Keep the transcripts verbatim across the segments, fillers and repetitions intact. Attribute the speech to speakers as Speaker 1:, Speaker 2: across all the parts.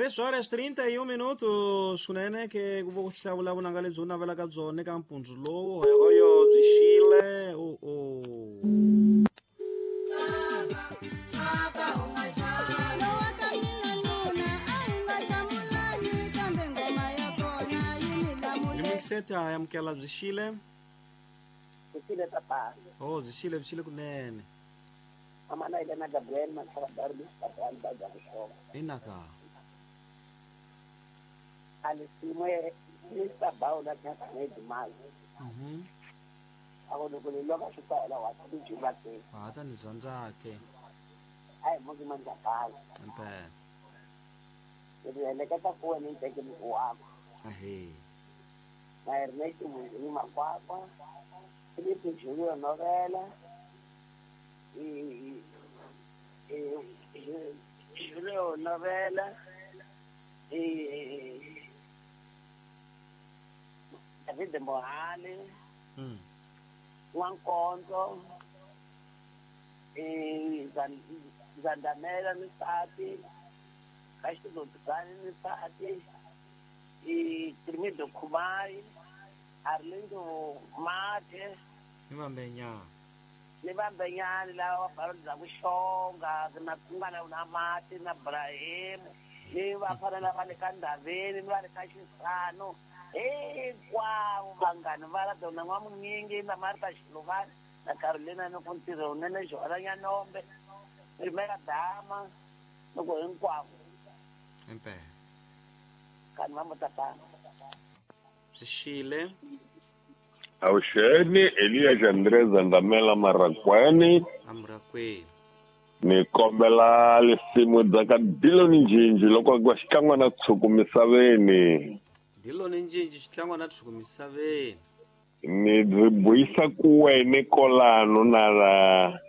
Speaker 1: Três horas trinta e um minutos swinene ke ku vo ku hlawula vunanga lebyi u navelaka byona eka mpundzu lowu hoyohoyo byi xile o o Seta amukela byi xile
Speaker 2: byi xile papa
Speaker 1: oh byi xile byi xile kunene
Speaker 2: amana ile na Gabriel Mashava Darbi papa ba ga xonga
Speaker 1: inaka
Speaker 2: alisimwe Mister Baula ka Ahmed Mal
Speaker 1: mhm
Speaker 2: ako loko le loka xitayela wa ti juba ke
Speaker 1: ha ta ni dyondza ke
Speaker 2: ai mo ke manja kala
Speaker 1: impela
Speaker 2: le eleketa ku wena ni teke ni wa
Speaker 1: ahe
Speaker 2: na Ernesto ni Makwakwa Felipe Julio Novela e Julio Novela e David Mohale
Speaker 1: mm
Speaker 2: Nwankonzo e Zandamela Misati Castro Dugani Misati e Trimido Kumai Arlindo Mate
Speaker 1: ni vambenya
Speaker 2: ni vambenyani lava va bya kuxonga na ku nga na Mate na Brahim ni vafana lava le ka Ndaveni ni va le ka Xisano hinkwavo vanghani va la dona N'wamunyingi na Martha Xiluvani na Carolina ni ku ntirho wunene Joana Nyanombe ni Mela Dama loko hinkwavo
Speaker 1: impela
Speaker 2: kani va mutatana
Speaker 1: byi xile
Speaker 3: Awuxeni Elias Andrés Andamela Marakwani
Speaker 1: Amrakwini
Speaker 3: ni kombela lisimu bya ka Diloni Njinji loko ku xikan'we na tshuku misaveni
Speaker 1: Diloni Njinji xitlangwa na tshuku misaveni
Speaker 3: ni byi buyisa ku wene kolano na la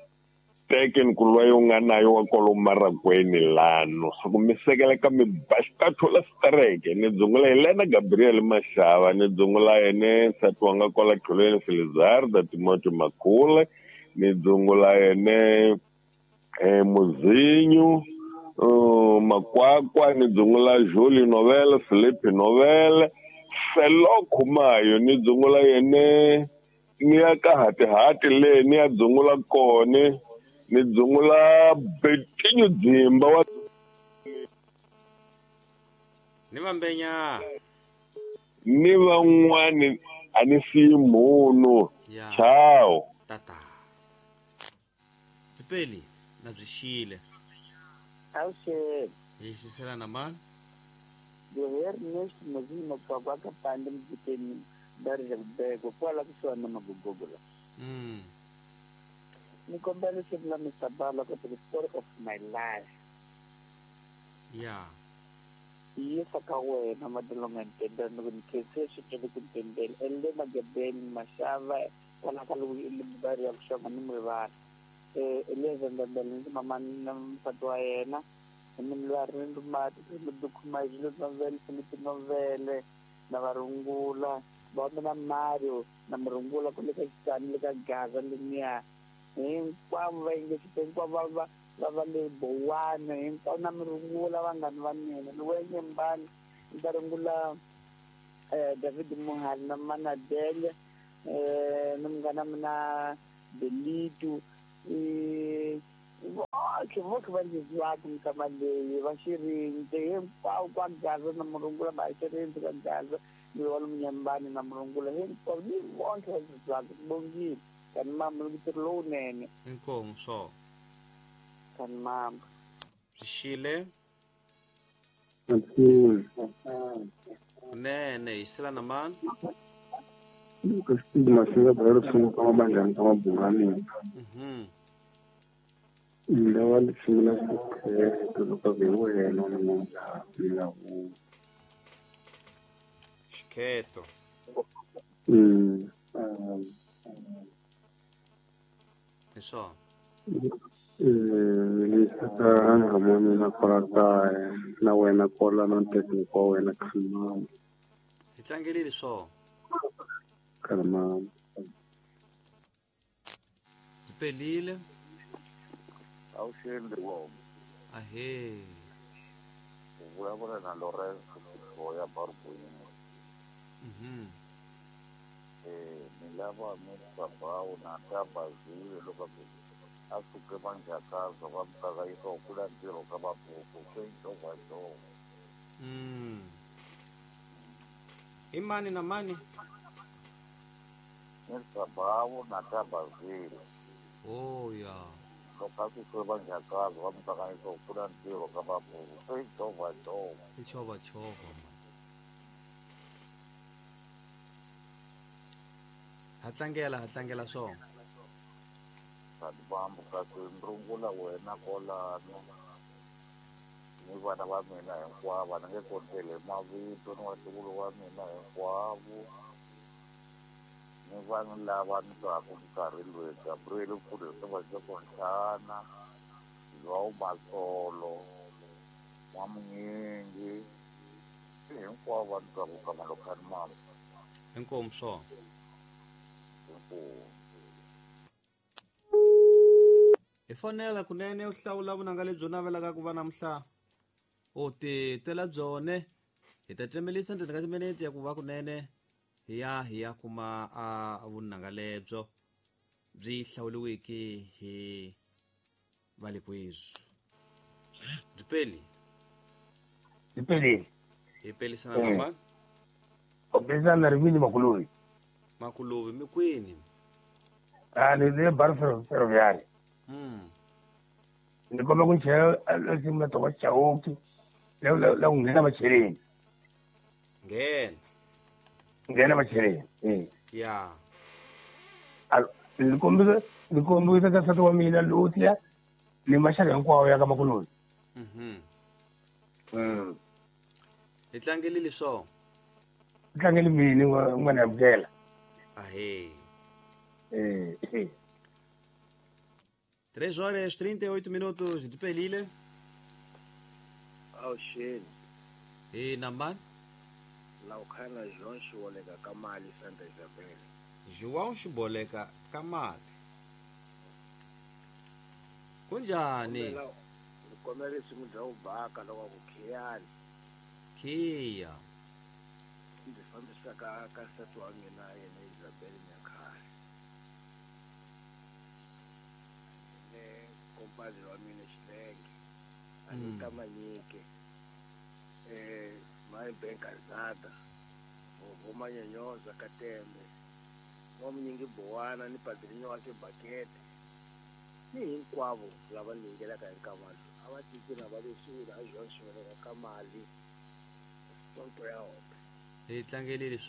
Speaker 3: teke nkulwa yo nga nayo wa kolo Marakwini lano so ku mi sekela ka mi baxikathola stereke ni dzungula Helena Gabriel Mashava ni dzungula yene nsati wa nga kwala Qholweni Felizarda Timothy Makhule ni dzungula yene eh Muzinyu uh, Makwakwa ni dzungula Julie Novela Felipe Novela Felo Khumayo ni dzungula yene ni ya ka hatihati le ni ya dzungula kone ni dzungula Betinho Dzimba wa
Speaker 1: ni vambenya
Speaker 3: ni van'wani a ni siyi munhu
Speaker 1: ya
Speaker 3: ciao
Speaker 1: tata Tipeli na byi xile
Speaker 2: Awuxeni
Speaker 1: hi xisela na mani
Speaker 2: Ernest Mozima Makwakwa ka Pande Mjikeni Darja Beko kwala kusuhani na Magogogo la
Speaker 1: mm
Speaker 2: ni kombela leswaku la Mister Bala ka the story of my life
Speaker 1: ya
Speaker 2: yisa ka wena Madolonga Ntendela ni ku ni khense xikele ku Ntendela Elena Gabriel Mashava kwala ka Libari ya kuxonga ni Murivala eh Elias Ndembele ni mama na nsati wa yena ni Mlwari Mati Dukhuma Julio Novela Felipe Novele na varungula va na Mario na murungula ku le ka Xitani le ka Gaza leniya hinkwavo va yingisile hinkwavo va va va va le Bowana hinkwavo na murungula vanghani va mina ni wena Mbani ni ta rungula eh David Mohali na Manadele eh na munghana mina Belitu eh voke voke va ndzi zwaka mikama leyi va xirindze hinkwavo kwa Gaza na murungula va xirindze ka Gaza ni wa Munyambani na murungula hinkwavo ni vonke va ndzi zwaka bongile kani mama ntirho lowunene
Speaker 1: inkomu swo
Speaker 2: kani mama
Speaker 1: byi xile kunene hi xisela na mani
Speaker 4: Stigma singa sunguka mabandlani ka mabunganeni
Speaker 1: mhm
Speaker 4: lava lisungula xikhetho loko ve wena ni munghana la wu
Speaker 1: xikhetho
Speaker 4: mm
Speaker 1: hi swona
Speaker 4: eh lisa ka ngamoni na kwala kaya na wena kwala na ntekeni wa wena khamama
Speaker 1: hi tlangelile swona
Speaker 4: khamama
Speaker 1: byi pelile
Speaker 5: Awuxeni wona
Speaker 1: ahe
Speaker 2: Vulavula na Lorenzo Kutoya Barbuini.
Speaker 1: Mhm.
Speaker 2: Eh, ni lava Mister Bawu na Tabazile loko a suke manjakaza va mukakayisa ku kula ntirho ka mabuku swi njovajova.
Speaker 1: Mm. I mani na mani?
Speaker 2: Mister Bawu na Tabazile.
Speaker 1: Oh ya.
Speaker 2: Loko a suke manjakaza va mukakayisa ku kula ntirho ka mabuku swi njovajova.
Speaker 1: I chovachova man. Ha tlangela ha tlangela swona.
Speaker 2: Bambu kasi ndrungula wena kolano ni vana va mina hinkwavo ni nge konteli mavito ni vatukulu wa mina hinkwavo ni vanhu lava ni twaku nkarhi loyi Gabriel Mfundhisi va Ntlhana João Matsolo N'wamunyingi hinkwavo va ni twaku ka Malokhani mama.
Speaker 1: Inkomu swona.
Speaker 2: Inkomu.
Speaker 1: Hi fonela kunene u hlawula vunanga lebyi u navelaka ku va namuhla u ti twela byone hi ta cemelisa ndzeni ka timinete ya ku va kunene hi ya hi ya kuma a vunanga lebyo byi hlawuriweke hi valekwezwi. Dipeli.
Speaker 4: Dipeli.
Speaker 1: Hi pelisana na mani?
Speaker 4: U pelisana na Rivini Makuluvi.
Speaker 1: Makuluvi mi kwini?
Speaker 4: A ni le Bar Ferroviário.
Speaker 1: Mm.
Speaker 4: Ni komba ku chela nsimu ya Thomas Chauke la la ku nghena macheleni.
Speaker 1: Nghena.
Speaker 4: Nghena macheleni. Eh.
Speaker 1: Ya.
Speaker 4: A ni kombisa ni kombisa ka nsati wa mina Lutia ni maxaka hinkwawo ya ka Makuluvi.
Speaker 1: Mhm.
Speaker 4: Mm.
Speaker 1: Hi tlangelile swona.
Speaker 4: Hi tlangele mini n'wana ya Mukela.
Speaker 1: Ahee.
Speaker 4: Eh. Eh.
Speaker 1: três horas e trinta e oito minutos de Pelile.
Speaker 5: Awuxeni.
Speaker 1: E nambani?
Speaker 5: Laukhana João Xiboleka ka mali Santa Isabel.
Speaker 1: João Xiboleka ka mali. Kunjani?
Speaker 5: Ni kombela risimu bya Ubaka loko ku khiyani.
Speaker 1: Khiya.
Speaker 5: Ndzi fambisa ka ka nsati wa mina yena Isabel Nyakhale. Compadre wa mina Xilenge Anita Manyike eh my Benkazada Vovo Manyanyoza Katembe N'wamunyingi Bowana ni Padrinho wa Xibakete ni hinkwavo lava ni yingelaka hi nkamalo a va tiki na va leswi la João Xiboleka ka mali sonto ya hope.
Speaker 1: Hi tlangelile.